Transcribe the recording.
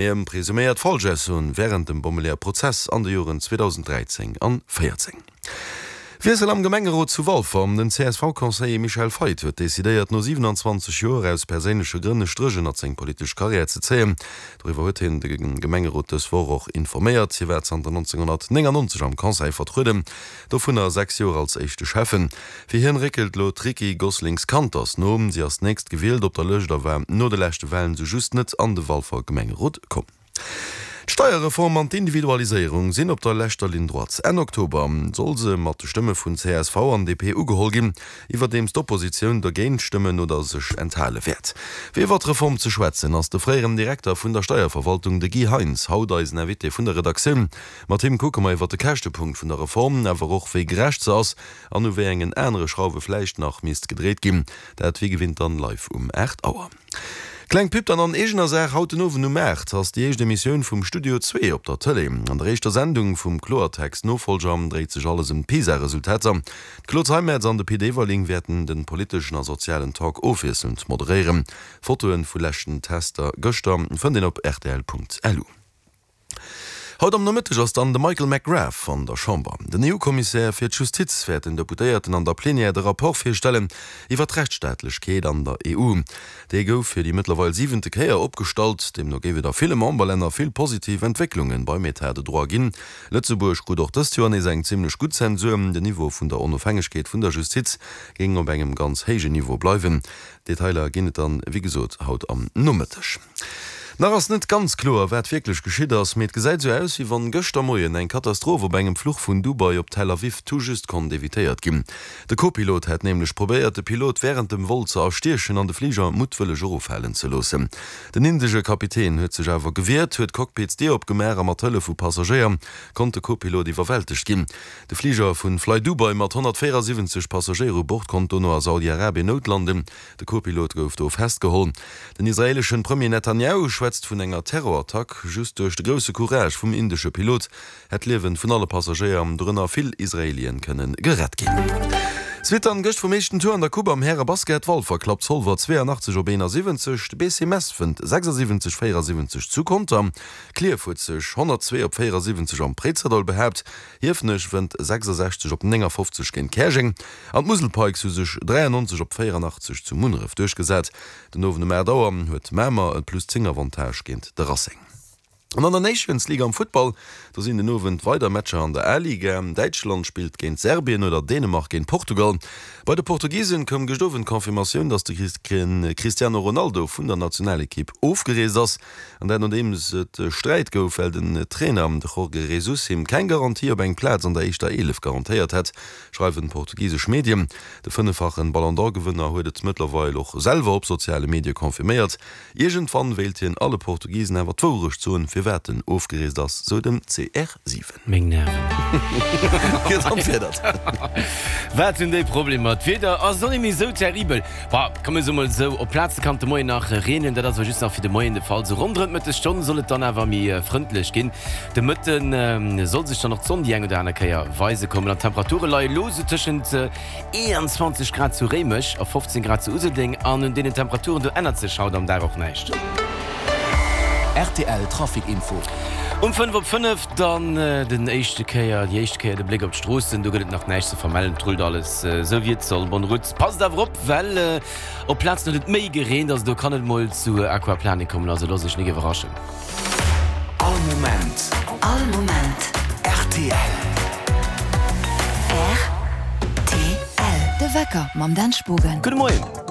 Ëm presuméiert Falschaussoen wärend dem Bommeleeër-Prozess an de Joren 2013 an 14. Wiessel am Gemengerot zu Walfer, Den CSV-Conseiller Michel Feit huet decidéiert, no 27 Joer aus perséinleche Grënn e Stréch ënnert seng politesch Karriär ze zéien. Doriwwer huet hien de Gemengerot dës Woch och informéiert. Hie war zanter 1999 am Conseil vertrueden, dovunner 6 Joer als éischte Schäffen. Fir hien réckelt lo d'Ricky Goslings-Kanters no. Si ass d'nächst gewielt op der Lëscht a war no de leschte Walen sou just net an de Walfer Gemengerot komm. D'Steierreform an d'Individualiséierung sinn op der leschter Ligne droite. Enn Oktober soll se mat de Stëmme vun csv an DP ugeholl ginn, iwwerdeems d'Oppositioun dergéint stëmmen oder sech enthale wäert. Fir iwwer d'Reform ze schwätzen, ass de fréieren Direkter vun der Steierverwaltung, de Guy Heintz, haut eisen Invité vun der Redaktioun. Mat him kucke mer iwwer de Käschtepunkt vun der Reform, awer och wéi gerecht se ass An u wéi engen anere Schrauwe vläicht nach misst gedréit ginn, dat wéi gewinnt dann live um 8 Auer. Kleng Pub dann an eegener Saach, Haut den Owend um 8 ass déi éischt Emissioun vum Studio Zwee op der Tëlee. An der éischter Sendung vum Kloertext Nofolger dréit sech alles ëm d'PISA-Resultater. D'Claude Zeimetz an de Pit Everling wäerten de politeschen a sozialen Talk ofwiesselnd moderéieren. Fotoe vu leschten Tester gëschter fënnt een op rtl.lu. Haut am Nomëtteg ass dann de Michael McGrath an der Chamber. Den EU-Kommissär fir d'Justiz wäert den Deputéierten an der Plenière de Rapport virstellen iwwer d'Rechtsstaatlechkeet an der EU. Dee gouf fir déi mëttlerweil siwente Kéier opgestallt. Deemno géif et a ville Memberlänner vill positiv Entwécklunge beim Etat de droit ginn. Lëtzebuerg krut och dëst Joer nees eng zimmlech gutt Zensur. Den Niveau vun der Onofhängegkeet vun der Justiz géing op engem ganz héijen Niveau bleiwen. Detailer ginn et dann, wéi gesot, haut am Nomëtteg. Nach ass net ganz kloer, wat wierklech geschitt ass, mee et gesäit esou aus, wéi wann gëschter Moien eng Katastroph op engem Fluch vun Dubai op Tel Aviv tout juste konnt evitéiert ginn. De Co-Pilot hätt nämlech probéiert, de Pilot wärend dem Vol ze erstiechen an de Fliger muttwëlleg eroffalen ze loossen. Den indesche Kapitän huet sech awer gewiert, huet d'Cockpitsdier opgemaach a mat Hëllef vu Passagéier konnt de Co-Pilot iwwerwältegt ginn. De Fliger vu Flydubai mat 174 Passagéier u Bord konnt dono a Saudi-Arabien noutlanden. De Co-Pilot gouf do festgeholl. Den israeeleschen Premier Netanjahu schwätzt vun enger Terrorattack. Just duerch de grousse Courage vum indesche Pilot hätt d'Liewen vun alle Passagéier, dorënner vill Israelien, kënne gerett ginn. Suite dann gëscht vum éischten Tour an der Coupe am Härebasket. Walfer klappt Zolwer 82 op 71, de BC Mess wënnt 76 74 zu Conter. Klierf huet sech 102 op 74 am Préizerdaul behaapt. Hiefenech wënnt 66 op 59 géint Käerjeng an d'Musel Pikes hu sech 93 op 84 zu Munneref duerchgesat. Den Owend um 8 Auer huet Mamer e plus 10 Avantage géint de Racing. An an der Nations League am Futtball, do sinn den Owend weider Matcher an der A-Liga. Däitschland spillt géint Serbien oder Dänemark géint Portugal. Bei de Portugisen koum gëscht Owend d'Confirmatioun, datt de Cristiano Ronaldo vun der Nationalekipp ofgereest ass. An dat nodeems et Sträit gouf, well den Trainer, de Jorge Jesus, him keng Garantie op eng Plaz an der éischter 11 garantéiert hätt, schreiwen portugisesch Medien. De fënneffachen Ballon d'Or-Gewënner huet et mëttlerweil och selwer op soziale Medie confirméiert. Iergendwann wéilt hien alle Portugisen awer d'Wourecht soen, firwat en ofgereest ass, sou den CR7. Meng Nerven. Gëtt entfiedert. Wat hunn déi Problemer? D'Wieder ass och net méi esou terribel. Bah, komm mir soe mol esou, op Plaze kann et de Moien nach reenen, dat ass awer just nach fir de Moien de Fall. Sou ronderëm d'Mëttesstonn soll et dann awer méi frëndlech ginn. De Mëtte soll sech dann och d'Sonn déi eng oder aner Kéier weise kommen an d'Temperature leie lo sou tëschent 21 Grad zu Réimech a 15 Grad zu Useldeng an un deenen Temperaturen do ännert sech haut am Dag och näischt. Rtl Trafic Info. Um 5 op 5 dann den éischte Kéier, déi éischt Kéier de Bléck op d'Stroossen. Do gëtt et nach näischt ze vermellen, et rullt alles esou wéi et soll. Bonne route. Passt awer op, well op Plazen huet et méi gereent, also do kann et mol zu Aquaplaning kommen, also loosst iech nik iwwerraschen. All Moment. All Moment. Rtl. Rtl. De Wecker mam Dan Spogen. Gudde Moien.